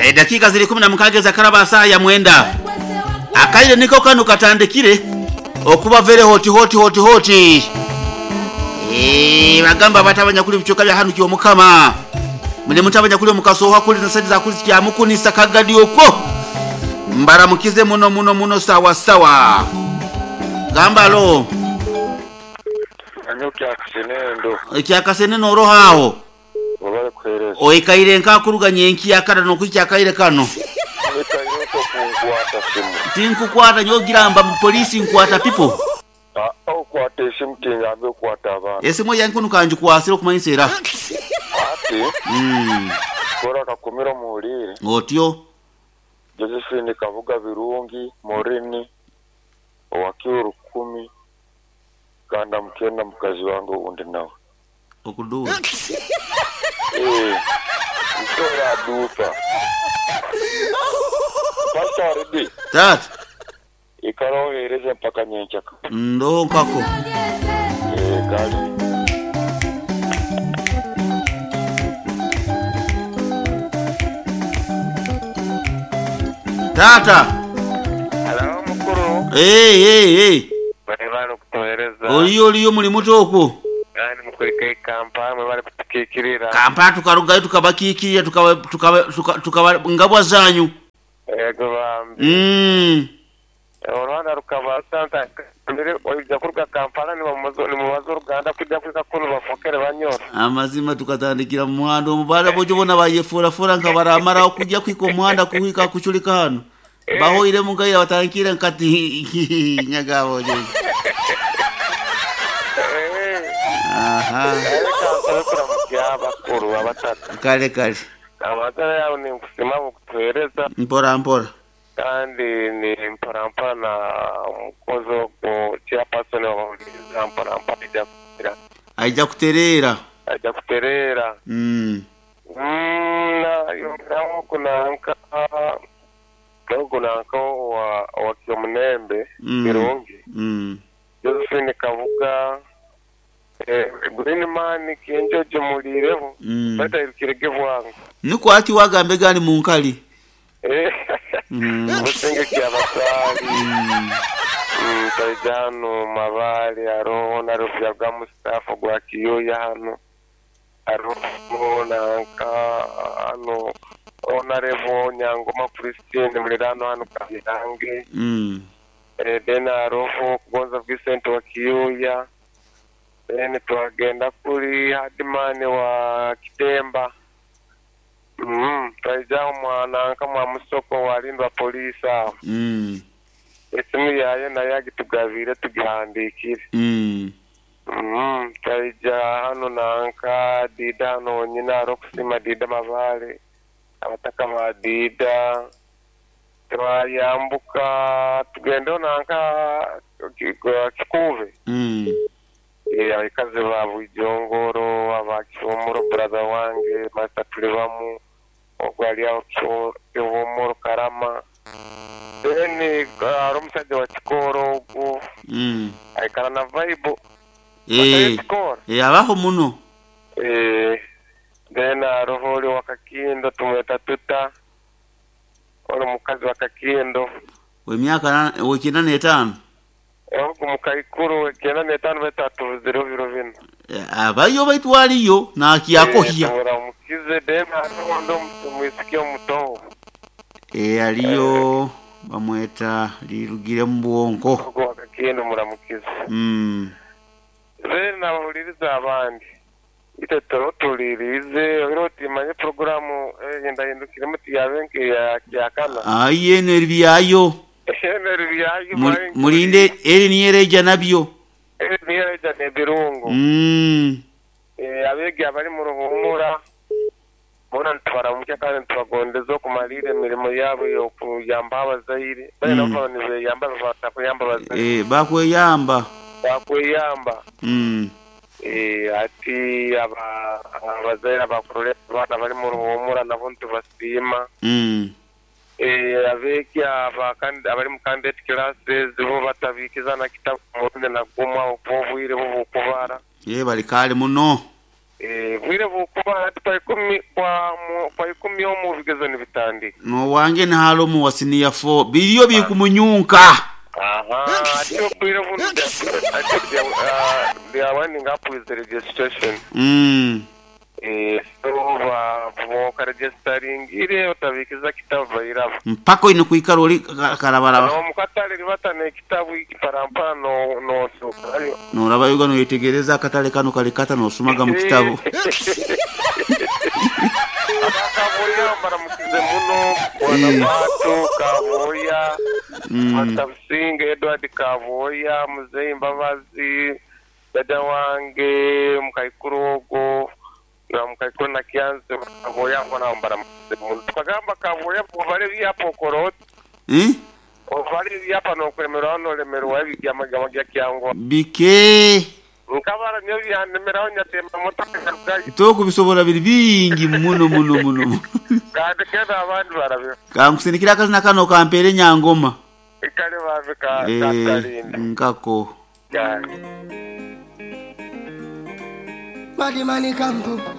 Edakiika ziri 16 ezakaraba saaha ya 9. Akaire niko kano katandikire okuba very hot hot hot hot. Bagamba abatabanya kuli bicoka bya hanu kyomukama. Mune mutabanya kuli omukasoha kuli na sente za kuli kyamukunisa kagadi okwo. Mbaramukize muno muno muno sawa sawa. Gamba lo. Anyo kyakasenendo. Ekyakasenendo oroho aho. Wabale kuhereza. Oikaire nkakuruga nyenki akara nokwicha akaire kano. Nikaire kunkwata simu. Tinkukwata nyogiramba mu polisi nkwata people. Okwata esimu tingambe okwata abantu. Esimu yange nkanju kwasira okumanyisa era. Ati. Kora kakumira muhulire. Otyo. Josephine Kabuga Birungi Morini owakiuru 10 kanda mukenda mukazi wange undi nawe. Okudura. Mtora dupa. Pastor Redi. Tata. Ikaro mpaka nyenchaka. Ndo nkako. Kali. Tata. Hello mukuru. Hey. Bali kutohereza. Oliyo muli muto okwo. Kandi mukurika Kampala mwe bali kutukikirira. Kampala tukarugayo tukabakikirira tukaba ngabwa zanyu. Ego bambi. Olwanda rukaba santa mbere oija kuruga Kampala ni mubazo Ruganda kujja kwika kuno bafokere banyora. Amazima tukatandikira mu muhanda omubala bojo bona bayefura fura nka baramara okujja kwika omuhanda kuhika kuchulika hano. Bahoire mungaira batangikira nkati nyagabo je. Aha. Kale kale. Amatara yawe ni nkusima kutuhereza. Mpora mpora. Kandi ni mpora mpora na mukozi ku chairperson wa mpora mpora aija kuterera. Aija kuterera. Aija kuterera. Na yongeraho kunanka kunanka wa Kyomunembe Birungi. Josephine Kabuga Green man kenjoje mulireho batayirukirege bwangu. Nuko ati wagambe gani munkali? Busenge kyabasali. Taijano mabali aroho na rufya bwa Mustafa gwa Kiyoya hano. Aroho nanka hano Honorable Nyangoma Christine mulirano hano Kabirange. Dena aroho kugonza Vincent wa Kiyoya. Then twagenda kuri Hadimani wa Kitemba. Twaija mwananka mwa musoko walindwa polisi aho. Esimu yayo nayo agitugabire tugihandikire. Twaija hano nanka Dida hano nyina arokusima Dida Mabale abataka ba Dida. Twayambuka tugenda nanka Kikuve. Abakazi ba Bujongoro abakihumuro brother wange Master Tulibamu ogwali aho Kihumuro Karama. Then ari omusajja wa Kikoro ogwo aikara na vibe. Abaho muno. Then aroho oli wa Kakindo tumweta tuta oli mukazi wa Kakindo w'emyaka 95. Ogu mukaikuru 95 betatu biro bino. Abayo baitwaliyo nakiyakohya. Mukize then aroho ndo mwisiki omuto. Aliyo bamweta lirugire mu bwonko. Ogu wa Kakindo muramukize. Then nabahuliriza abandi. Ite tulirize oroti manye programu yendahindukire muti yabenke ya kana. Aye neribyayo. Mulinde eri niyereja nabyo. Eri niyereja nebirungo. Abegi abali mu ruhumura bona ntwara kandi ntwagondeza okumalira emirimo yabo yokuyamba abazaire. Bali nabo nibeyamba batakuyamba abazaire. Bakweyamba. Bakweyamba. Ati abazaire abakurole abana bali mu ruhumura nabo ntubasiima. Abeki abali mu candidate classes bo batabikiza na kitabu murundi na gumwa obwire bo bukubara. Bali kale muno. Bwire bukuba hati kwa 10 omu bigezo nibitandika. Nowange nahalomu wa senior 4 biriyo bikumunyunka. Aha, ati obwire bunu ati they are winding up with the registration. So bokaregistering otabikiza kitabu bairaba. Mpaka oine kwikara ori karabaraba. Nomukatale ribatana ekitabu ikiparampara nosokayo. Norabayo noyetegereza akatale kano kali kata nosomaga mu kitabu. Kaboya baramukize muno bwana Bato Kaboya, Pastor Businge Edward Kaboya, Muzeyi Mbabazi, dada wange Mukaikuru ogo na Mukaikuru na Kianze Kaboya bwana baramukize muno. Tukagamba Kaboya ovale byapa okorot. Ovale byapa nokulemerwa nolemerwa ebigamagama gya kyango. Bike. Nkabara nyo byanemeraho nyatemba motoka karugayo. Tokubisobora biri bingi muno muno muno. Kandi kenda abandi barabyo. Kankusindikira akazina kano kampere Nyangoma. Kale bave ka Kalinda. Nkako. Kale. Madimani kampo.